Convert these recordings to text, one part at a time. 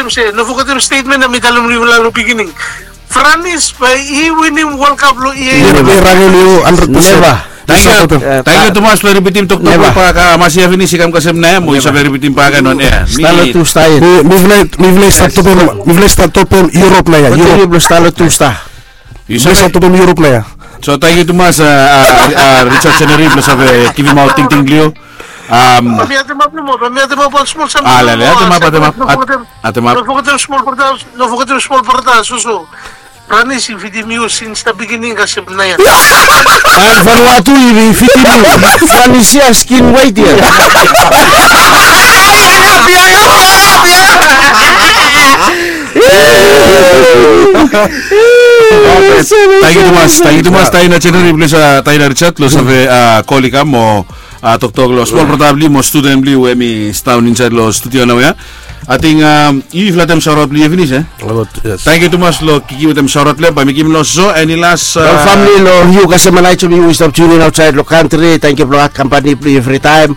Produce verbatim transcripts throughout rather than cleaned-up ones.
olsem se, no fogetem stetmen ya mi talem long yufala long bigini. Franis bae i winim World Cup long yia ya. Neva. Neva. Tangkiu, tangkiu tumas blong ripitim toktok blong Pak Masia finis i kam kasem nao ya mo yu save ripitim bak gen on ea. Stalo tusta ya. Mifala i stap topem, mifala i stap topem Europe nao ya. Kontiniu blong stalo tusta. Yu save stap topem Europe nao ya. So tangkiu tumas Richard Seneri blong save givimaot tingting blong yu. Am, mi atemap nomo, mi atemap wan smol samting. Alele, atemap, atemap, atemap. No fogetem smol brata, no fogetem smol brata, soso. Franis i fidim yu since the beginning kasem nao ya. An Vanuatu i fidim yu. Franis ya skin white ya. Tangkiu tumas, tangkiu tumas Taina General, plis Taina Richard, long save kol i kam mo toktok long smol brata blong yu mo studen blong yu we hemi sidaon insaed long studio nao ya. Ating yu, yufala ating saoraot blong yu finis e. Tangkiu tumas long givim saoraot blong hem, bae mi givim long soso, eni las? Long famili, long yu kasem Elijah, yu we i stap tiunin aotsaed long kantri, tangkiu blong kampani blong yu evritaem.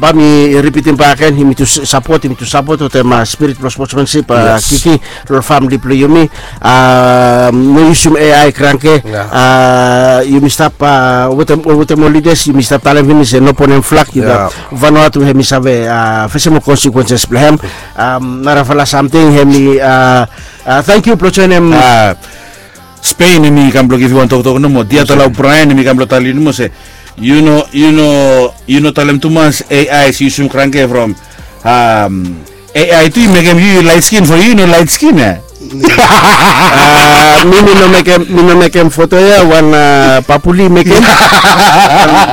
Bae mi ripitim bak gen, yumi tu sapot, yumi tu sapot wetem spirit blong sportsmanship, Kiki, long famili blong yumi. No yusum A I kranke. Yumi stap wetem, wetem ol lidas yumi stap talem finis se no bonem flag, yu know. Vanuatu hemi save fesem ol consequences blong hem. Narafala samting hemi, tangkiu blong joenem. Spain hemi kam blong givim wan toktok nomo, Diatala O'Brien hemi kam blong talem nomo se, yu no, yu no, yu no talem tumas A I se yusum kranke from A I tu i mekem yu lait skin, from yu no lait skin e. Mi, mi no mekem, mi no mekem foto ya, wan Papuli mekem.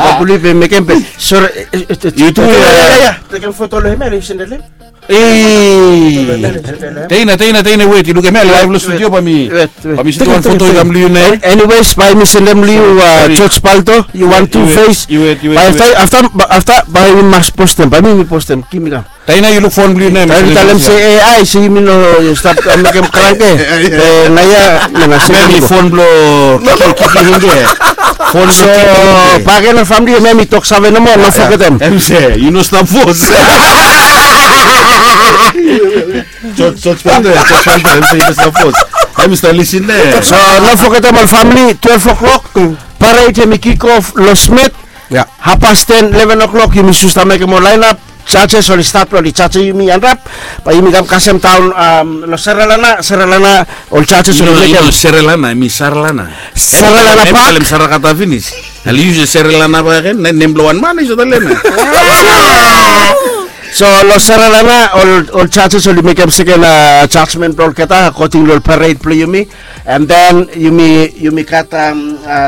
Papuli be mekem be. Sore. Yu tu ya. Tekem foto long hem ya, yu sendel hem. Ei. Teina, Teina, Teina, wet, yu lukim ya laev long studio bae mi, bae mi sendem wan foto i kam long yu nao. Anyways, bae mi sendem long yu, George Palto, yu wan tu fes. Bae afta, afta bae mi mas postem, bae mi, mi postem, givim i kam. Teina, yu luk fon blong yu nao. Bae mi talem se A I se yumi no stap mekem kranke. Nao ya, nao ya se mi fon blong Kiki, Kiki Hinde. Fon blong Kiki Hinde. Bakegen ol famili, hemia mi toksave nomo, no fogetem. Hemi se yu no stap fos. Joj, Joj Pante, Joj Pante, hemi se yu no stap fos. Hemi stap lisin nao. So no fogetem ol famili, twelve o'clock, parade hemi kick off long Smith. Half past ten, eleven o'clock, yumi stap mekem ol laenap. Judges oli stat blong oli jajem yumi, anrap bae yumi kam kasem daon long Sri Lanka, Sri Lanka, ol judges oli mekem. Sri Lanka, hemi Sri Lanka. Sri Lanka Park. Talem Sri Lanka finis. Ale yu yusum Sri Lanka bakegen, nem blong wan man i save talem. So long Sri Lanka, ol, ol judges oli mekem seken judgment blong olgeta according long ol parade blong yumi. And then yumi, yumi gat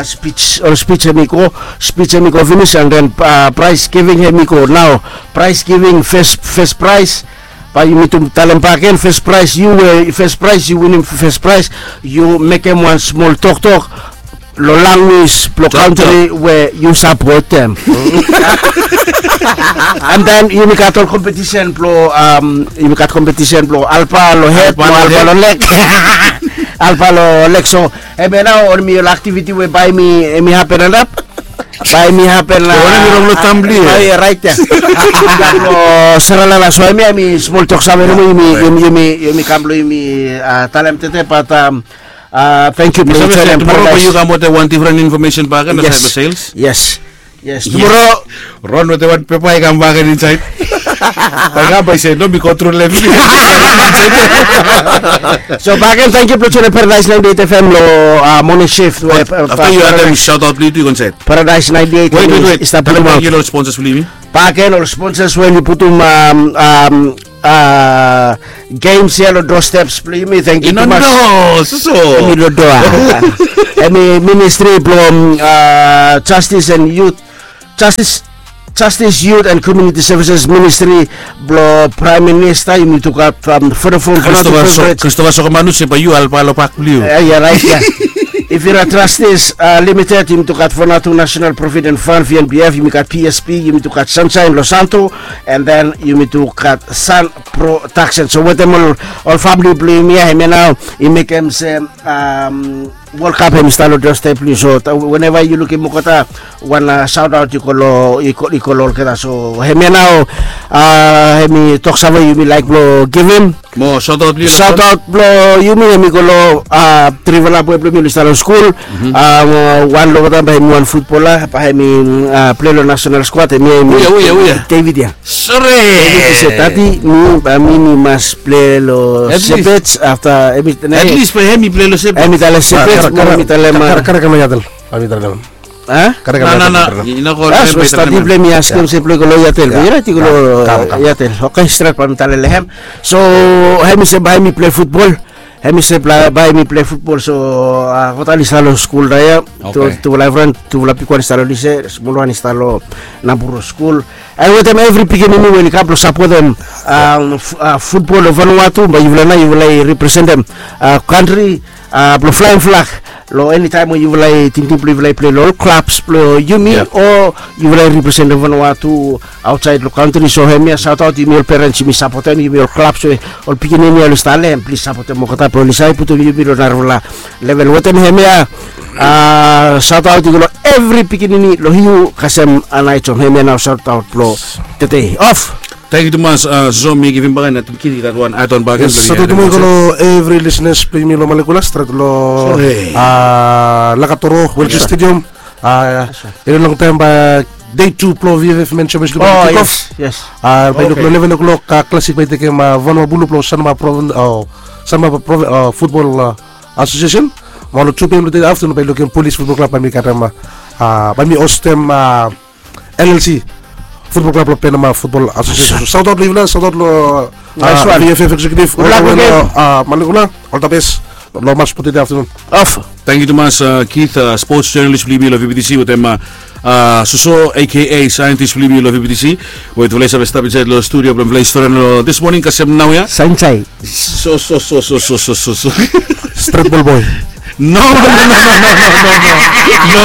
spij, ol spij hemi go, spij hemi go finis, and then prize giving hemi go nao. Prize giving, fes, fes praes. Bae yumi tu talem bakegen, fes praes, yu we fes praes, yu winim fes praes, yu mekem wan smol toktok long lanwis blong kantri we yu sapotem. And then yumi gat ol kompetisen blong, yumi gat kompetisen blong alpa long hed mo alpa long leg. Alpa long leg. So hemia nao ol hemi ol aktiviti we bae hemi, hemi hapen anrap. Bae hemi hapen long Sri Lanka. So hemia hemi smol toksave nomo yumi, yumi, yumi kam blong yumi talem tede, bat tangkiu blong joenem. Tumoro bae yu kam wetem wan difren infomesen bakegen asaed long sales. Yes. Yes, tumoro. Ron wetem wan pepa i kam bakegen insaed. Bae kam bae i se no mi kontrol hem. So bakegen, tangkiu blong joenem Paradise ninety-eight F M long moning shift. Afta yu addem shout out blong yu tu, yu go insaed. Paradise ninety-eight. Wet, wet, wet. Talem bakegen ol sponsors blong yumi. Bakegen ol sponsors we oli putum games ya long doorsteps blong yumi. Tangkiu tumas. Hemi lodoa. Hemi ministri blong justice and youth. Justice, Justice, Youth and Community Services Ministry blong Praem Minista, yumi tu gat, um, fotofon Kristova Sokomanus, bae yu alapa long pak blong yu. Ia, ia, raet ia. If yu are Trustees, uh, Limited, yumi tu gat Vanuatu National Provident Fund, V N P F, yumi gat P S P, yumi tu gat Sunshine Losanto, and then yumi tu gat Sun Production. So wetem ol, ol famili blong yumi ia, hemia nao i mekem se, um, World Cup hemi stap long doorstep blong yu. So weneva yu lukim olgeta, wan, uh, shout out i go long, i go, i go long olgeta. So hemia nao, uh, hemi toksave yumi laek blong givim. Mo shout out blong yu, shout out blong yumi hemi go long, uh, trifala boe blong mi oli stap long skul. Uh, wan long olgeta bae hemi wan futbola, bae hemi, uh, plei long national squad, hemi, hemi David ia. Sore. David i se, "Dadi, mi bae mi, mi mas plei long Shepherds afta hemi." At least bae hemi plei long Shepherds. Hemi talem Shepherds, mo mi talem, karem, karem, karem, karem. A? Karem, karem, karem. Stadi blong hem i askem se blong i go long Iatel. Ia, raet, i go long Iatel. Oke, stret bae mi talem long hem. So hemi se bae mi plei futbol. Hemi se bae mi plei futbol. So, uh, olgeta oli stap long skul nao ia. Tufala evriwan, tufala bigwan i stap long Lise, smolwan i stap long Naboro skul. Ae wetem evri pikinini we oli kam blong sapotem, um, futbol long Vanuatu, bae yufala nao yufala i representem, uh, kantri, uh, blong flaem flag long enitaem we yufala i tingting blong yufala i plei long ol klabs blong yumi, o yufala i representem Vanuatu aotsaed long kantri. So hemia shout out, yumi ol perens yumi sapotem, yumi ol klabs we ol pikinini oli stap long hem, plis sapotem olgeta blong oli save putum yumi long narafala level. Wetem hemia, uh, shout out i go long evri pikinini long Hiu kasem Anaitom. Hemia nao shout out blong tede. Of. Tangkiu tumas, uh, so mi givim bak gen, ating Kid i gat wan add on bak gen. Yes, shout out tumas long evri listeners blong yumi long Malekula, stret long, uh, Lakatoro Welki Stadium. Uh, long taem bae day two blong V F F Men Championship bae kikof. Yes. Uh, bae luk long eleven o'clock, uh, Classic bae tekem, uh, Vanuabulu blong Sanma Province, uh, Sanma Province, uh, Football, uh, Association. Mo long two p.m. long tede aftenun bae lukim Police Football Club bae mi gat, um, uh, bae mi hostem, uh, L L C Football Club long Penama Football Association. So shout out long yufala, shout out long, uh, V F F executive, Malekula, all the best. Long mas blong tede aftenun. Of. Tangkiu tumas, uh, Keith, uh, sports journalist blong yumi long V B T C, wetem, uh, uh, Soso, A K A scientist blong yumi long V B T C, we tufala i save stap insaed long studio blong mifala i storian long this morning kasem naoia. Sunshine. So, so, so. Stret bol boe. No, no, no.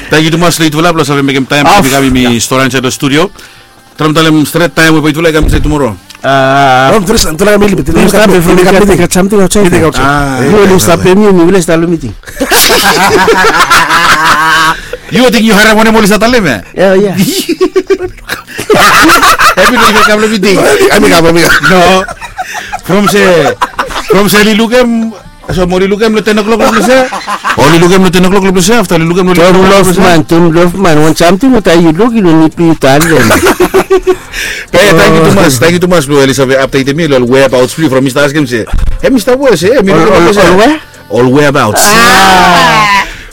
Tangkiu tumas long yutufala blong save mekem taem blong yumi kam, yumi storian insaed long studio. Traem talem stret taem we bae yutufala i kam insaed tumoro. Yu ating yu harem wanem oli stap talem ia? Ia, ia. Hemi no i kam long miting. Hemi kam, hemi kam. No. From se, from se oli lukem, so mo oli lukem long ten o'clock long plese. Oli lukem long ten o'clock long plese, afta oli lukem long ten o'clock long plese. Tom Lofman, Tom Lofman, wan samting we taem yu luk, yu no nid blong yu talem. Be tangkiu tumas, tangkiu tumas blong oli save updatem mi long ol whereabouts blong yu from mi stap askem se, hemi stap we se, hemi stap we se. Ol whereabouts.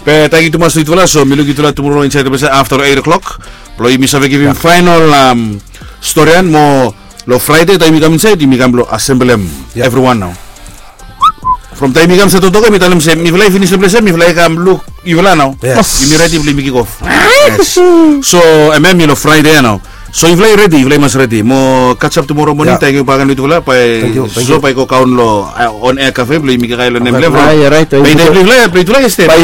Be tangkiu tumas long yutufala, so mi luk yutufala tumoro insaed long plese afta long eight o'clock. Blong yumi save givim faenol, um, storian mo long Fraede taem yumi kam insaed, yumi kam blong asemblem evriwan nao. From taem yumi kam stap toktok, mi talem se mifala i finis long plese, mifala i kam luk yufala nao. Yes. Yumi redi blong yumi kikof. Yes. So hemia hemi long Fraede ia nao. So yufala i redi, yufala i mas redi. Mo kasem tumoro moning, tangkiu bakegen long yutufala, bae so bae i go kaon long, uh, on air cafe blong yumi kakae long nem blong evriwan. Ia, raet. Bae yutufala, bae yutufala i stap. Bae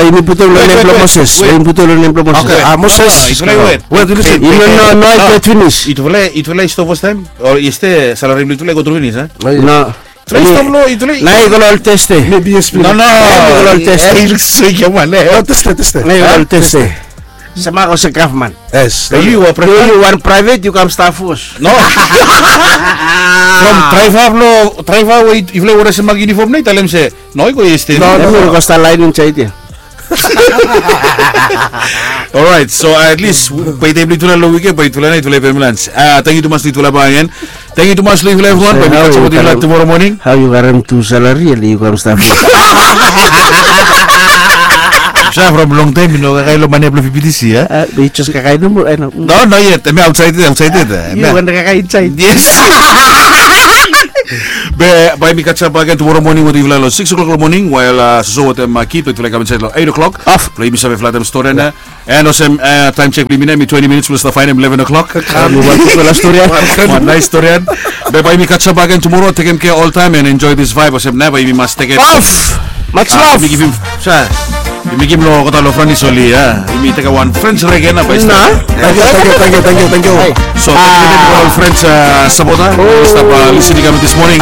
yumi putum long nem blong Moses. Bae yumi putum long nem blong Moses. Oke. Moses. Yutufala i wet. Yutufala i stap fastaem? O i stap, salari blong yutufala i go tru finis, a? No. Yutufala i stap long, yutufala i... Nao i go long Teste. No, no. I go long Teste. Teste, Teste. Nao i go long Teste. Same olsem gavman. Yes. Yu wan praevet, yu kam stap fos. No. From draeva blong, draeva we yufala i werim olsem mak yunifom nao i talem se, no, i go Teste. No, no, i go stap laen insaed ia. Alright, so at least bae taem blong yutufala long wikend, bae yutufala nao yutufala i pem lans. A, tangkiu tumas long yutufala bakegen. Tangkiu tumas long yufala evriwan, bae mi kasem wetem yutufala tumoro moning. Hao yu harem tu salari ia, yu kam stap? Sa from long taem mi no kakae long mane blong V B T C, a? Be yu jes kakae nomo, a no? No, not yet. Hemi aotsaed, aotsaed. Yu wan kakae insaed. Yes. Be bae yumi catch up back again tomorrow morning wetem yufala long six o'clock long morning, while soso wetem kid wetem yufala i kam insait long eight o'clock. Blong yumi save flatem storian ya. And olsem taem check blong yumi nao, yumi twenti minits blong stap faenem eleven o'clock. Wan naes storian. Be bae yumi catch up back again tomorrow. Tekem kea oltaem and enjoy this vibe. Olsem nao bae yumi mas tekem off. Much love. Yumi givim, yumi givim long olgeta long French oli ya. Yumi tekem wan French reggae nao bae i stap. Tangkiu, tangkiu, tangkiu, tangkiu. So tangkiu ol French sapota we oli stap listening kam this morning.